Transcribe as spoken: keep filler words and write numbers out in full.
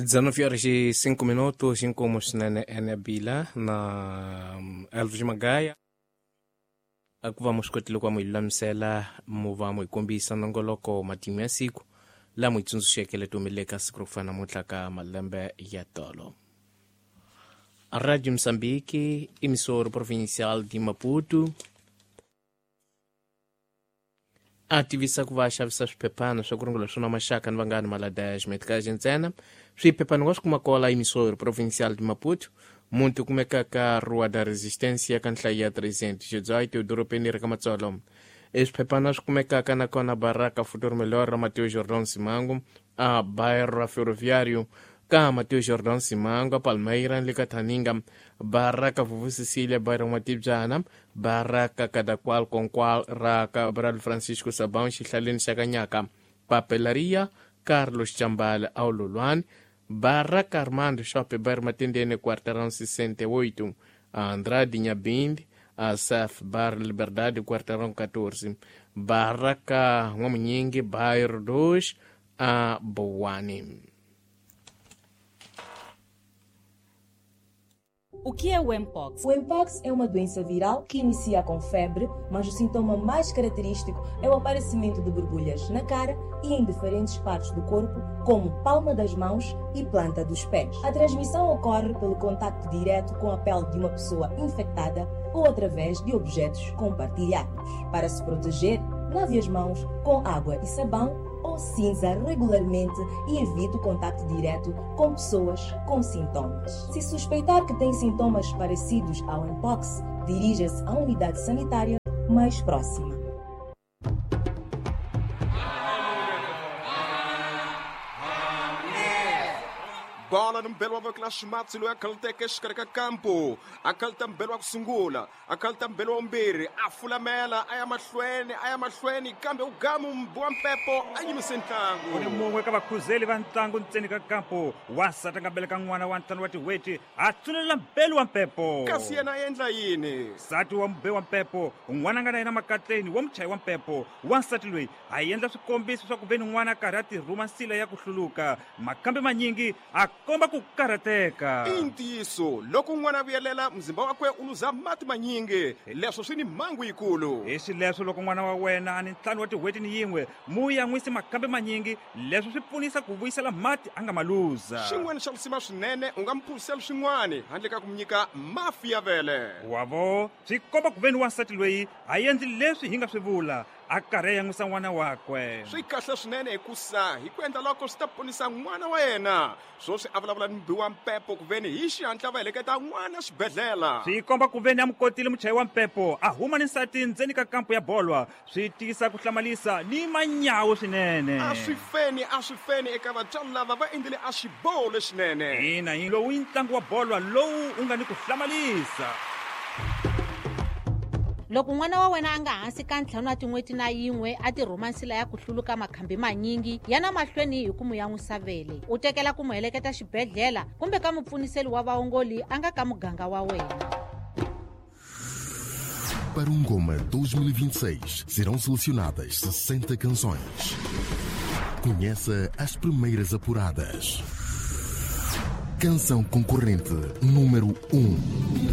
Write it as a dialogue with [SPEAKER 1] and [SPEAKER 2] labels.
[SPEAKER 1] dezenove horas e cinco minutos, inkomu swinene ene bila na Elvis Magaya. A ku va mu swi kotile ku va mu hi lulamisela mu va mu hi kombisa nongoloko matimu ya siku laha mu hi tsundzuxeke leti humeleleke siku ro fana namuntlha ka malembe ya tolo. Rádio Moçambique, emissora provincial de Maputo, a tivisa ku va xavisa swiphephana swa ku rungula swona maxaka ni vanghani maladash metikaji ntsena. Swiphephana wa swi kuma kwala emissora provincial de Maputo, muti kumeka ka Rua da Resistência ka nhlayo ya trezentos e dezoito edorobeni ra ka Matsolo. Eswiphephana swi kumekaka nakona Baraka Futuro Melhor ra Mateus Jordão Simango, a bairro Ferroviário ka Mateus Jordão Simango, Palmeira le ka Thaninga, Baraka Vuvu Cecília, bairro Matibyana, Baraka Cadaqual Conqual ra Cabral Francisco Sabão, xihlaleni xa Kanyaka, Papelaria Carlos Chambala Aululwani, Baraka Armando Shopping, bairro Matendene, quarteirão sessenta e oito, Andrade Nhabinde, Asaf Bar Liberdade, quarteirão quatorze, Baraka Nwamunyingi, bairro dois, a Boane.
[SPEAKER 2] O que é o Mpox?
[SPEAKER 3] O Mpox é uma doença viral que inicia com febre, mas o sintoma mais característico é o aparecimento de borbulhas na cara e em diferentes partes do corpo, como palma das mãos e planta dos pés. A transmissão ocorre pelo contacto direto com a pele de uma pessoa infectada ou através de objetos compartilhados. Para se proteger, lave as mãos com água e sabão ou cinza regularmente e evite o contacto direto com pessoas com sintomas. Se suspeitar que tem sintomas parecidos ao Mpox, dirija-se à unidade sanitária mais próxima.
[SPEAKER 4] Bola ni mbelo wa vekela ximatsi loyi a khaluteke exikarhi ka kampo, a khaluta mbelo wa ku sungula, a khaluta mbelo wa vumbirhi, a fulamela a ya mahlweni a ya mahlweni, kambe u gamu mbi wa mpepo a yimise ntlangu.
[SPEAKER 5] U ni mun'we ka vakhuzeli va ntlangu ntseni ka kampo, wansati a nga beleka n'wana wa ntlhanu wa tin'hweti a tsunelela mbelo wa mpepo.
[SPEAKER 4] Kasi yena a endla yini?
[SPEAKER 5] Nsati wa mbe wa mpepo, n'wana a nga na yena makatleni wa muchayi wa mpepo. Wansati loyi a endla swikombiso swa ku ve ni n'wana a karhi a tirhuma nsila ya ku hluluka, makambe manyingi a komba ku karhateka.
[SPEAKER 4] I ntiyiso, loko n'wana a vuyelela muzimba wakwe u luza mati manyingi, leswo swi ni mhangu yikulu.
[SPEAKER 5] Hi xileswo loko n'wana wa wena a ni ntlhanu wa tin'hweti ni yin'we, mu yan'wisi makambe manyingi, leswo swi pfunisa ku vuyisela mati a nga ma luza.
[SPEAKER 4] Xin'wana xa risima swinene, u nga mu phuzisela swin'wana handle ka ku mu nyika mafi ya vele.
[SPEAKER 5] Wavo, swi komba ku ve ni wansati loyi a endli leswi hi nga swi vula, a karhi a yan'wisa n'wana wakwe.
[SPEAKER 4] Swi kahle swinene hikusa hi ku endla loko swi ta ponisa n'wana wa yena. Swoswi a vulavula ni mbi wa mpepo ku veni hi xihatla va heleketa n'wana xibedhlele.
[SPEAKER 5] Swi komba ku veni a mu kotile muchayi wa mpepo a huma ni nsati ndzeni ka kampo ya bolwa, swi tiyisa ku hlamalisa ni manyawu swinene.
[SPEAKER 4] A swi feni, a swi feni eka vatswari lava va endlile a xiboho lexinene.
[SPEAKER 5] Ina, hi lowu i ntlangu wa bolwa lowu u nga ni ku hlamalisa.
[SPEAKER 6] Loko n'wana wa wena a nga hansi ka ntlhanu wa tin'hweti na yin'we a tirhuma nsila ya ku hluluka makhambi manyingi, yana mahlweni hi ku mu yan'wisa vele. U tekela ku mu heleketa xibedhlele kumbe ka mupfuniseli wa vaongoli a nga ka muganga wa wena.
[SPEAKER 7] Para o Ngoma dois mil e vinte e seis serão selecionadas sessenta canções. Conheça as primeiras apuradas. Canção concorrente número um.